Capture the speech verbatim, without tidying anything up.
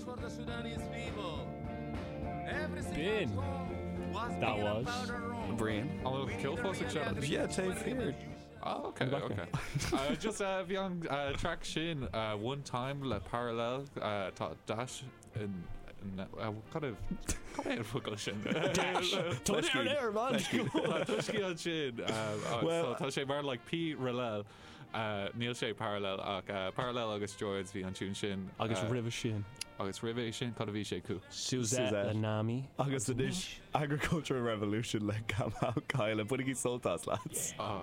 for the Sudanese people. Everything Bin. at home was That being a was. powder room. Brian. An bhfuil ceol fós ag seinm? Yeah, taobh thiar. Oh, okay, okay. uh, just uh, bhí an uh, track sin uh, one time le parallel uh, tá dash in, in uh, kind of cad é an focal sin Dash. Tá ar air man. Tá tuiscí an sin Well, tá sé mar like P parallel uh, níl sé parallel ach uh, parallel agus George bhí an tune sin Agus uh, roimhe sin. agus roimhe sin cad a bhí sé acu Suzette Suzette. le Nami. Agus anois Agricultural Revolution le Kamal Kyle bainigí sult as lads. oh.